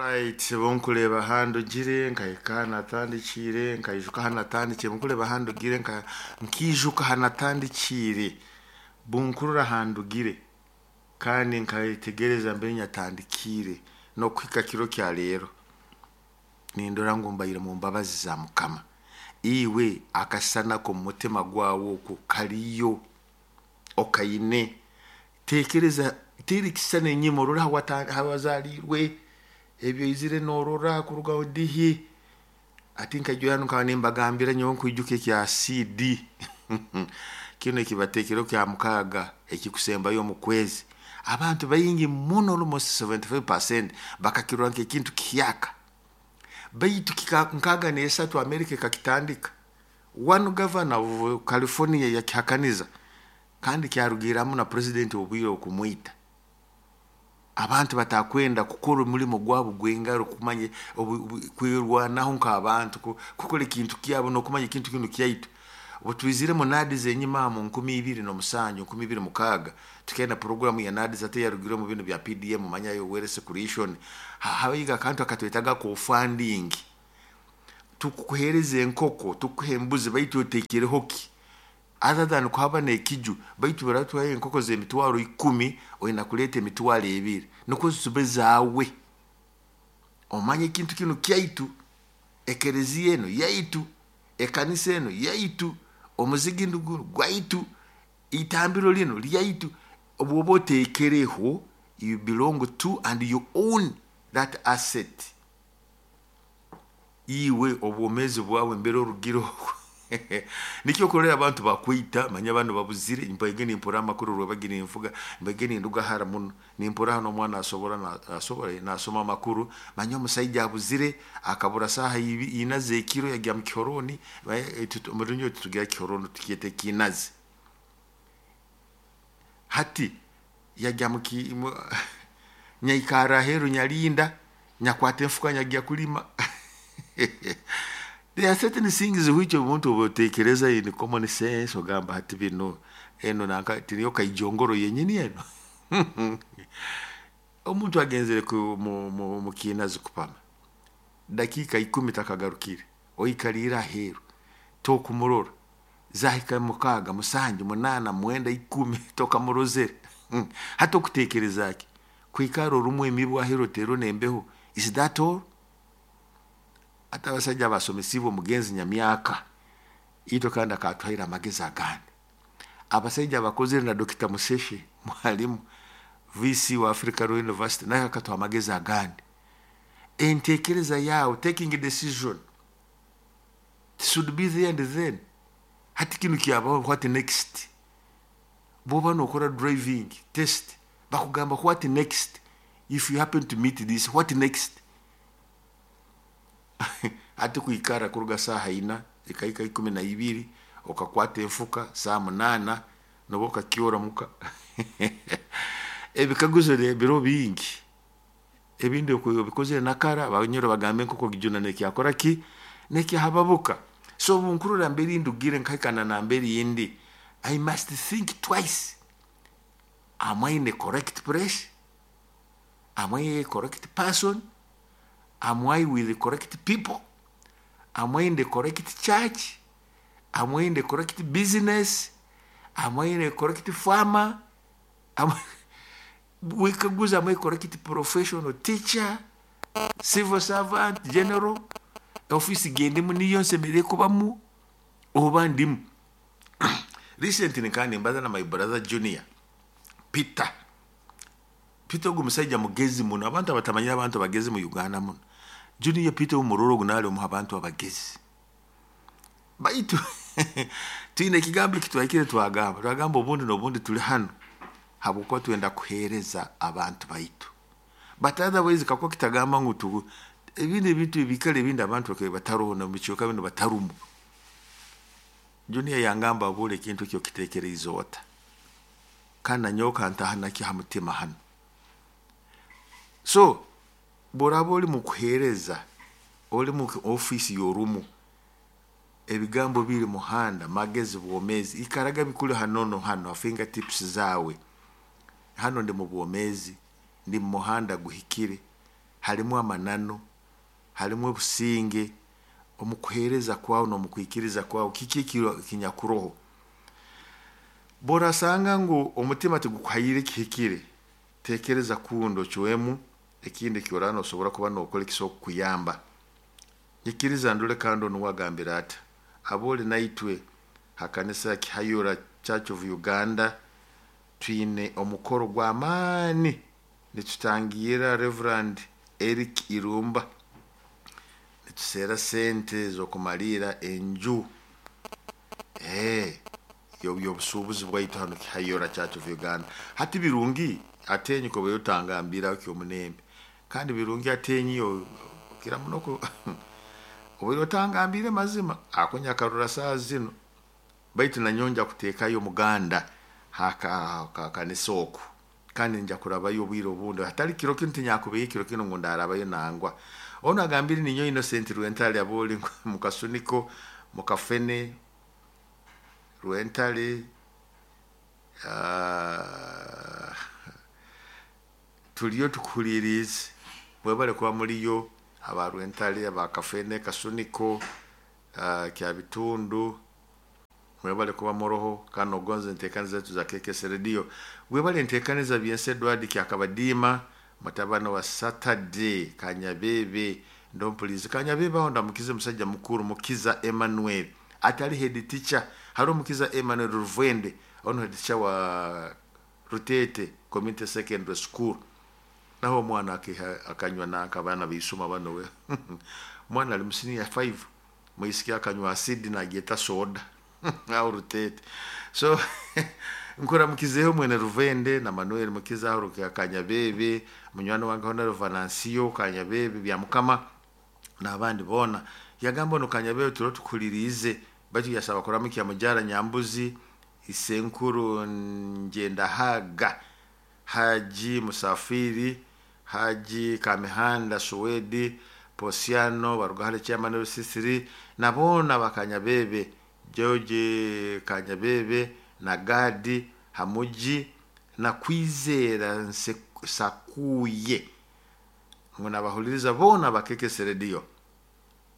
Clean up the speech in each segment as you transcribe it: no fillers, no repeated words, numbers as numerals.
Alright, bunkureba handugire nkahika natandikiire, nkaijuka hanatandikiire, bunkureba handugire nkiijuka hanatandikiire, bunkurura handugire kandi nkayetegereza mbere nyatandikiire n'okuhika kiro kya leero nindora ngu mbaire mu mbabazi za Mukama. Iwe akasana k'omu mutima gwawe oku kariyo okaine, tekereza teera ekisisani enyima orole hawazaalirwe, ebi oizire noorora kuruga dihi, hati nkaija hanu nkaba nimbagambira nyowe nkwijuka ekya CD kinu ekibateekereho kya mukaaga ekikusembayo omu kwezi. Abantu baingi muno, almost 75%, bakakirora nk'ekintu kihyaka, baitu 63 America ekakitandika. One governor of California yakihakaniza kandi kyarugirramu na president obwire okumwita. Abantu batakwenda kukora omulimo gwabo gw'engaro, kumanya kwerwanaho nk'abantu, kukora ekintu kyabo n'okumanya ekintu kinu kyaitu. Obu twiziremu NAADS enyima mu 2007, 2006, tukenda puroguramu ya NAADS ate yarugire omu binu bya PDM, manyayo wealth creation, habayo akantu akatwetaga co-funding. Tukukuheereza enkoko, tukuha embuzi, baitu oteekereho ki? Other than kuhaba n'ekiju, baitu baratuhayo enkoko z'emitwaro 10, oina kuleeta 20,000 nukwo zibe zaawe. Omanye ekintu kinu kyaitu, ekereziya enu yaitu, ekanisa enu yaitu, omuzigi gunu gwaitu, itambiro linu lyaitu. Obu oba oteekereho, you belong to and you own that asset. Iwe obwomeezi bwawe mbere orugire oku nikyo okurora abantu bakwita, manya banu babuzire, mbaige nimpurra amakuru rwebagi ninvuga, mbaige ninduga hara muno, nimpurra hanu omwana asobora nasoma amakuru, manya omusaija abuzire, akabura saaha ina z'ekiro yagya mu kihorooni, omu Runyoro titugira kihorooni, tukyeta ekiinazi. Hati yagya nyaikarra aheeru nyalinda, nyakwata enfuka nyagya kulima. There are certain things which omuntu obu oteekereza in common sense ogamba hati binu enu nanka tiniyo kaijongoro yenyini enu. Omuntu agenzere mu kiinazi kupama, dakiika 10 takagarukire, oikaliire aheeru tokumurora, zahika 6, 7, 8, 9, 10 tokamurozere. Hati okuteekereza ki? Kwikara orumu emibu aheeru oteerwe n'embeho, is that all? Hati abasaija abasomesiibwe omugenzi Nyamyaka, itwe kandi akatuhaire amagezi agandi. Abasaija abakozere na Dr. Museshe mwalimu VC wa Africa Royal University, naye akatuha amagezi agandi. Enteekereza yaawe, taking a decision, it should be there and then. Hati kinu kyabaho, what next? Bw'oba nookora driving test, bakugamba what next? If you happen to meet this, what next? Hati kwikara kuruga saaha 4 ekahika 12, okakwata enfuka saaha 8 noba okakyora muka. Ebikaguzo biro bingi, ebindi obikozere nakara, abanyoro bagamba enkoko gijuna nekyakora ki? Nekyahababuka. So obu nkurora mbere ndugire nkahika na nambere ndi, I must think twice. Am I in the correct place? Am I a correct person? Am I with the correct people? Am I in the correct church? Am I in the correct business? Am I in the correct farmer? Wekaguza, am I correct professional teacher, civil servant, general? Office gendimu niyo nsemeriire kubamu oba ndimu? Recently kandi mbaza na my brother Junior, Peter. Peter ogu musaija mugezi muno, abantu abatamanyire abantu abagezi mu Uganda muno. Junior Peter omuroro ogu naali omu abantu abagezi. Baitu twine ekigambo eki twahikire twagamba, twagamba obundi n'obundi tuli hanu habwokuba twenda kuheereza abantu baitu. But otherwise kakuba kitagamba ngu ebindi ebintu ebikara ebindi abantu bakaba bataroho na mubicweka binu batarumu. Junior yangamba abuure ekintu eki okiteekereize ota? Kandi nanyowe kantaha nakyo ha mutima hanu. So bw'oraaba oli mu kuheereza, oli mu ofiisi y'orumu, ebigambo biri muhanda, magezi, bwomeezi, ikaraga bikuli hanono hanu ha fingertips zaawe. Hanu ndi mu bwomeezi, ndi mu muhanda guhikire. Halimu amananu, halimu obusinge omu kuheereza kwawe n'omu kwikiriza kwawe, kiki ekinyakuroho? Bw'orasanga ngu omutima tigukuhaire ekihikire, teekereza kundi ocwemu ekindi eki oraaba noosobora kuba nookora ekisobora kukuyamba. Nyikiriza ndole kandi onu uwe agambire ata, abooli naitwe ha kanisa ya Kihayura Church of Uganda twine omukoro gw'amaani nitutangiira Reverand Eric Irumba, nituseera sente z'okumaliira enju y'obusuubuzi bwaitu hanu Kihayura Church of Uganda. Hati birungi atenyi kuba otangambira kyomunembe, kandi birungi atenyi okira muno obaire otangambire mazima ako nyakarora saaha zinu, baitu nanyowe nja kuteekayo omuganda ha kanisa oku, kandi nja kurabayo obwire obundi, hatali kiro kinu tinyakubaire kiro kinu ngu ndarabayo nangwa. Onu agambire ninyowe Innocent Rwentale abooli mukasuniko, mukafene, Rwentale, tuliyo tukuhuliiriize, mwebale kuba muliyo aba Rwentale, aba Kafene, Kasuniko, Kyabitundu, mwebale kuba muroho kandi nogonza enteekaniza zaitu za KKS Radio. Webale enteekaniza Byensi Edward Kyakabadiima, mutabani wa Saturday Kanyabebe, ndompulizi Kanyabebe aho ndamukize musajja mukuru Mukiza Emmanuel, atali head teacher, hariho Mukiza Emmanuel Ruvende, ono head teacher wa Rutete Community Secondary School. Naho omwana akanywa nanka abaana baisoma bano we. Omwana ali mu senior 5, mwisiki akanywa acid nagyeta soda. Aho Rutete. So nkuramukizeho mwene Ruvende na Manuel Mukiza aho Kanyabebe, munywani wange Honorable Venancio Kanyabebe bya Mukama n'abandi boona. Yagamba ono Kanyabebe turo tukuhuliriize, baitu yasaba kuramukya Mujara Nyambuzi, Isenkuru Njendahaga, Haji Musafiri, Haji Kamihanda Suwedi, Posiano Barugahare Chairman of C3 na boona bakanyabebe George Kanyabebe na Gadi Hamuji na Kwizera Sakuye, ngu nabahuliriza boona bakekese radio.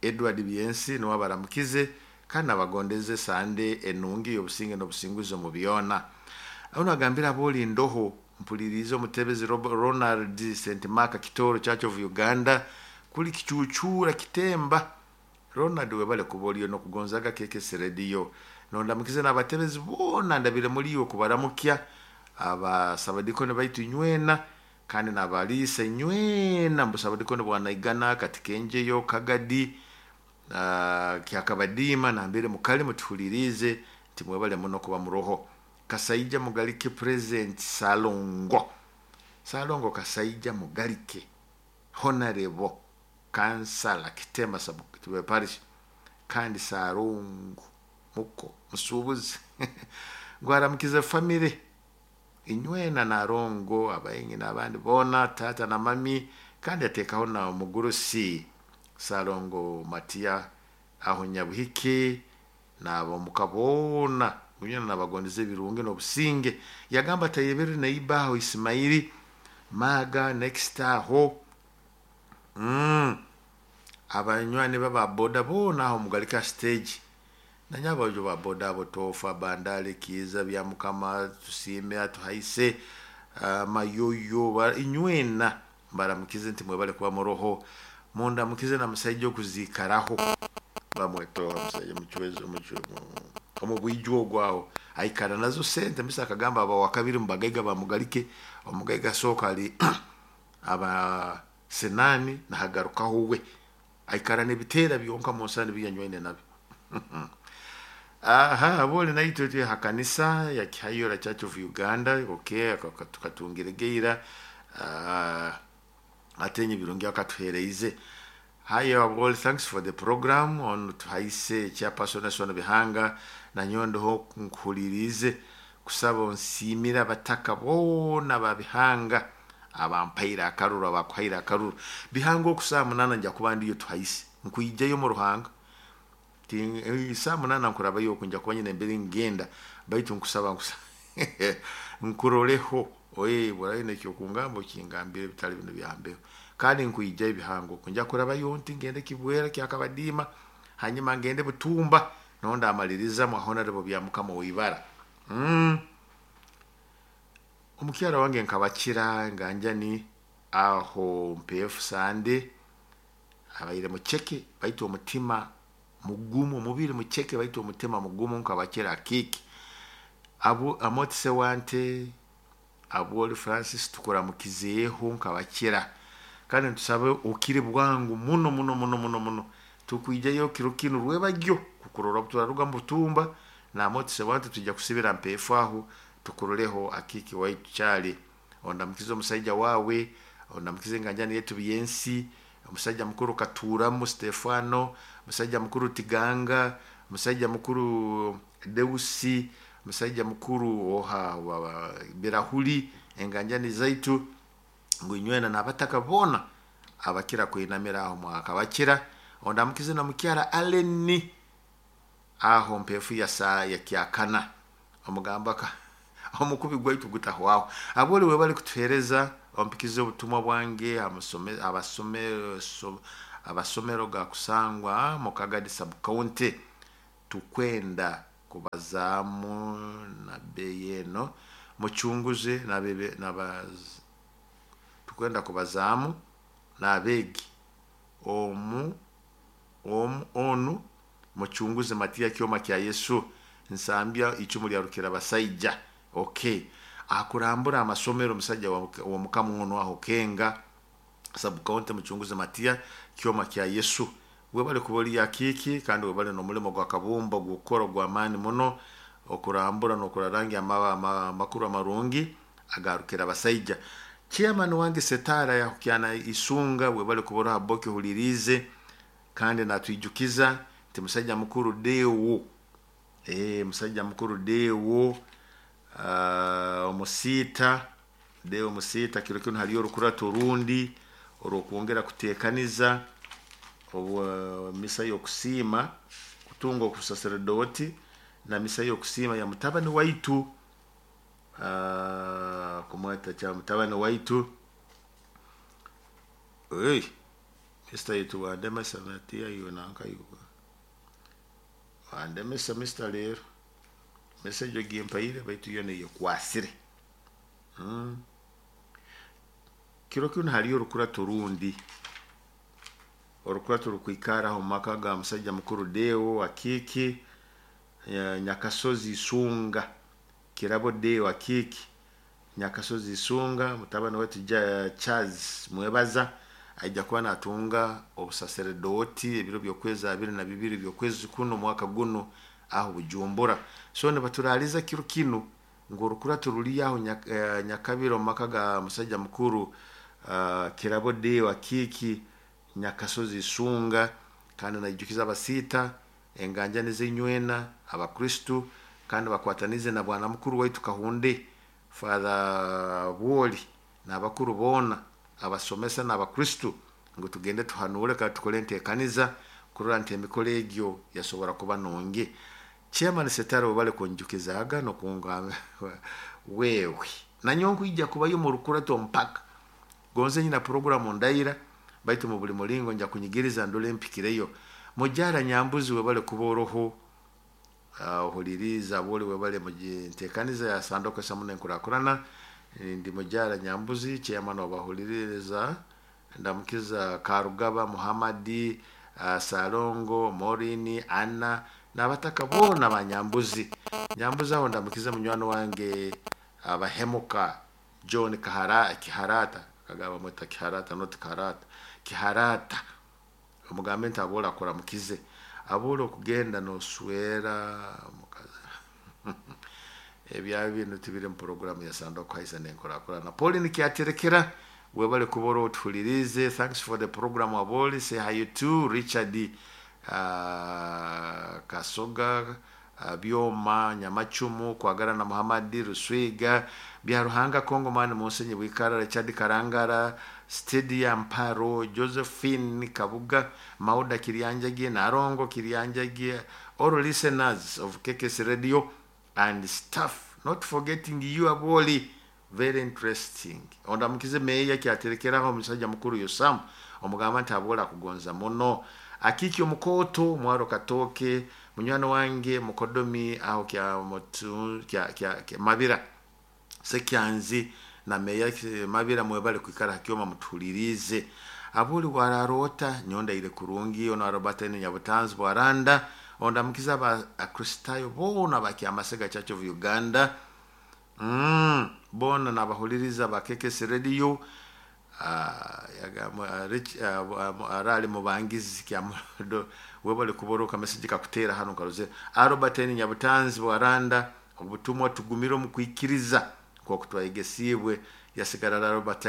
Edward Byensi niwe abaramukize kandi nabagondeze Sande enungi y'obusinge n'obusinguzi omu byona. Ono agambira abooli ndoho mpulirize omutebezi Ronald St Mark Kitoro Church of Uganda kuli kicucura kitemba. Ronald webale kuba oliyo n'okugonzaga KKS Radio. Nondamukize n'abatebezi boona ndabire muliyo kubaramukya abasabadikoni baitu nywena kandi n'abaliisa nywena mbusabadikoni bwanaigana Katikenjeyo Kagadi Kyakabadiima nambere mukali mutuhulirize nti mwebale muno kuba muroho. Kasaija Mugalike President Salongo, Salongo Kasaija Mugalike Honorable Kansala Kitema Sub Parish kandi Salongo muko musuubuzi gwaramukize family inywena narongo abaingi n'abandi boona tata na mami, kandi ateekaho na omugurusi Salongo Matia aho Nyabuhike n'abomuka boona nywena nabagondeza ebirungi n'obusinge. Yagamba tayebere neiba aho Ismaili Maga next aho abanywani baba boda boona aho Mugalika stage nanyabajo ba boda abo Tofa Bandale Kiza bya Mukama tusime atuhaise Mayoyo inywena mbaramukize nti mwebale kuba muroho. Mundamukize na musaija okuzikaraho bamwetoha musaija muchwezo omu bwijwo ogwaho aikara nazo sente mbisa akagamba aba wakabiri mubagaiga bamugalike omugaiga soka ali aba senani nahagarukaho we aikara n'ebiteera byonka mu nsani biyanywaine nabyo. Aha aboli naitwe twe hakanisa ya Kihayura Church of Uganda okay tukatungire geira atenye birungi akatuhereize. Hi all, thanks for the program on tuhaise chairperson National Bihanga na nyondo nkuhulirize kusaba onsimira abataka boona ba Bihanga abampaire akaruru abakuhaire akaruru Bihanga okusaa 8 nja kuba ndiyo tuhaise nkuijayo mu Ruhanga saa 8 nkurabayo okunja kuba nyine mbere ngenda baitu nkusaba nkuroleho Oye buraine ekyokungamba okingambire bitali bino byambeho. Kandi nkwija ebihango kunja kurabayo nti ngende Kibwera kyakabadiima, hanyuma ngende Butumba nondi amaliriza mwa Honorable Byamukama Oibara. Omukyara wange nkabakira nganjani aho mpefu sande abaire mucheke baitu omutima mugumu, omubiri mucheke baitu omutima mugumu nkabakira kiki. Abu amotise wante Abwoli Francis tukuramukizeeho nkabakira. Kandi ntusabe okire bwangu muno muno muno muno muno. Tukwijayo kiro kinu rwebagyo kukurora turaruga mu Butumba na amotise wante tujja kusibira mpefu aho tukuroleho akiki waitu kyali. Ondamukize omusajja wawe, ondamukize nganjani yetu byensi, omusajja mukuru Katuramu Stefano, omusajja mukuru Tiganga, omusajja mukuru Deusi, omusajja mukuru oha Birahuli, enganjani zaitu ngu inywena n'abataka boona abakira kwinamira aho mwakabakira. Ondamukize na mukyara Aleni aho mpefu ya saa ya kyakana omugamba ka omukubi gwaitu gutahwaho. Aboli we bali kutuhereza ompikize obutumwa bwange abasomero ga kusangwa mu Kagadi sub county tukwenda kubazamu na beyi eno muchunguze nabebe nabaz tukwenda kubazamu nabegi omu omu onu muchunguze Matia kyoma kya Yesu nsambya icumu lya rukira basaija. Okay, akurambura amasomero omusajja wa mukamu ono aho Kenga sub county muchunguze Matia kyoma kya Yesu. Webale kuboli ya kiki kandi webale n'omulimo gwa kabumba gukora gwa maani muno okurambura n'okurarangi amakuru amarungi agarukira abasaija. Chairman wange Setara yakukyana isunga webale kubora boki hulirize kandi natwijukiza nti musajja mukuru Dewo. Musajja mukuru Dewo omusita Dewo omusita kiro kino haliyo orukurato orundi orwokwongera kutekaniza obu misa y'okusiima kutunga okusaseredoti na misa y'okusiima ya mutabani waitu kumweta kya mutabani waitu. Hey, Mr. yetu wandemesa natia iyo nanka yuko wandemesa Mr. lero message ogimpaire baitu yo neyekwasire. Kiro kino haliyo orukurato orundi orukurato rukwikara aho mu maka ga musajja mukuru Deo Akiki Nyakasozi Isunga Kirabo Deo Akiki Nyakasozi Isunga mutabani wetu Charles Mwebaza aija kuba natunga obusaseredoti ebiro by'okwezi 22 by'okwezi kuno mwaka guno aho Bujumbura. So nibaturaliza kiro kino ngu orukurato ruri aho Nyakabiro mu maka ga musajja mukuru Kirabo Deo Akiki Nyakasozi Isunga. Kandi naijukiza abasiita enganjani z'enywena abakristu kandi bakwatanize na bwana mukuru waitu Kahunde Father Bwoli n'abakuru boona abasomesa n'abakristu ngu tugende tuhanure kandi tukore entekaniza kurora nti emikoro egyo yasobora kuba nungi. Chairman Setaro webale kunjukizaga nokunga wewe nanyo nkwija kubayo mu rukurato mpaka gonze nyina programu ndaira baitu mu buli mulingo nja kunyigiriza ndole mpikireyo. Mujara Nyambuzi webale kuba oroho ohuliriza boli webale mujentekaniza ya sandoko samune nkurakurana. Ndi Mujara Nyambuzi chairman wabahuliriza ndamukiza Karugaba Muhammadi Salongo Morini Anna n'abataka bona ba Nyambuzi. Nyambuzi aho ndamukiza munywano wange abahemuka John Kahara Kiharata kagaba mweta Kiharata not Kiharata Kiharata omugambe nti abola akora mukize abola okugenda noswera mukazi ebya bintu tibiri mu programu ya sandoko haisa nenkurakurana. Pauline Kyaterekera webale kubora otulirize, thanks for the program aboli. Say hi to Richard Kasoga Byoma Nyamachumu Kwagara na Muhammadi Ruswiga Byaruhanga Kongo mani Musenyi Bwikara Richard Karangara Stadia Mparo Josephine Kabuga Mauda Kiryanjagi Narongo Kiryanjagi, all listeners of KKS Radio and staff, not forgetting you aboli. Very interesting. Ondamukize meya kyaterekeraho omusajja mukuru Yosamu, omugamba nti abwola kugonza muno. Akiki omukoto mwaro katoke munywani wange mukodomi aho kya mutu kya mabira sekyanzi na meya mabira mwebale kwikara hakyoma mutuhulirize. Abuli wararota nyonda ile kurungi ono Robert Nyabutanzi bwaranda ondamukiza aba Akristayo bona bakyamasega Church of Uganda. Bona nabahuliriza ba KKS Radio, arali mubangizi kyamudo webale kuboroka message kakutera hano karuze. Robert Nyabutanzi bwaranda obutumwa tugumire mu kwikiriza kwa kutwayegesibwe yasigara Robert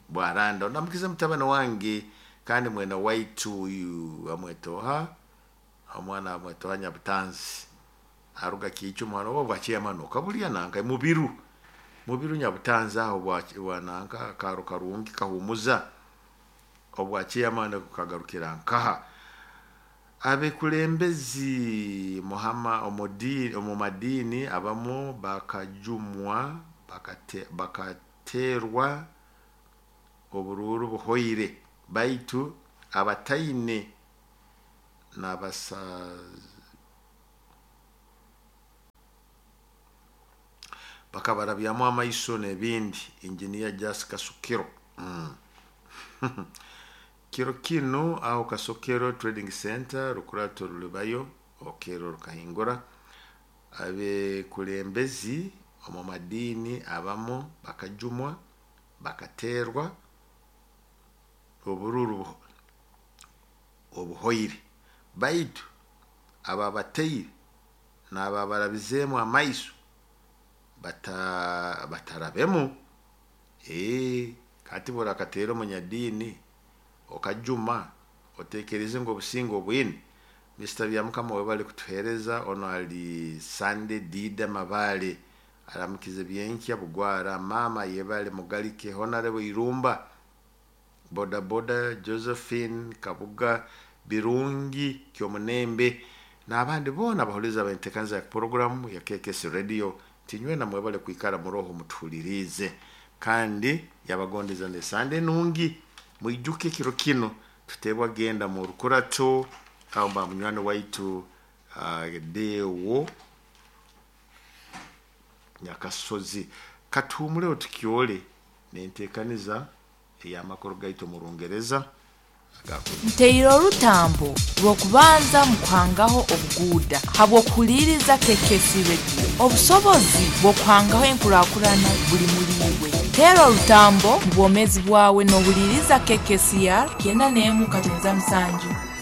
Bwaranda. Ondamukiza mutabani wange kandi mwena waitu uyu amwetoha omwana amwetoha Nyabutanzi aruga kicho mwana wo bwachiyamanuka buliya nanka mubiru Nyabutanzi aho bwananka karo karungi kahumuza obwachiyamana kukagarukira nkaha. Abekulembezi muhama omodini omumadini abamu bakajumwa bakaterwa obururu buhoire baitu abataine nabasa bakabarabyamu amaiso n'ebindi. Engineer Jas Kasukiro. Kiro kino aho Kasokero Trading Center rukurato rulibayo okero rukahingura. Abekulembezi omu madini abamu bakajumwa bakaterwa obururu obuhoire baitu ababateire n'ababarabizemu amaiso batarabemu. Kati bora katera omunyadini okajuma otekereze ngo obusingo obwine. Mr. Byamukama webale kutuhereza. Ono ali Sunday Dida Mabale aramukize byenkya bugwara mama yebale mugalike Honorable Irumba boda boda Josephine Kabuga Birungi Kyomunembe n'abandi bona bahuliza bentekanza ya program ya KKS Radio. Tinywe na mwebale kwikara muroho mutuhulirize kandi yabagondeza ne Sunday nungi. Mwijuke kiro kino tutebwa genda mu rukurato aho mba munywani waitu Dewo Nyakasozi. Katumule tukyole nentekaniza eyamakuru gaitu mu Rungereza. Nteire orutambo rw'okubanza mu kuhangaho obuguuda habw'okuhuliriza KKS Radio. Obusobozi bw'okuhangaho enkurakurana buli muliiwe. Teera orutambo mu bwomeezi bwawe n'ohuliriza KKCR 91.7.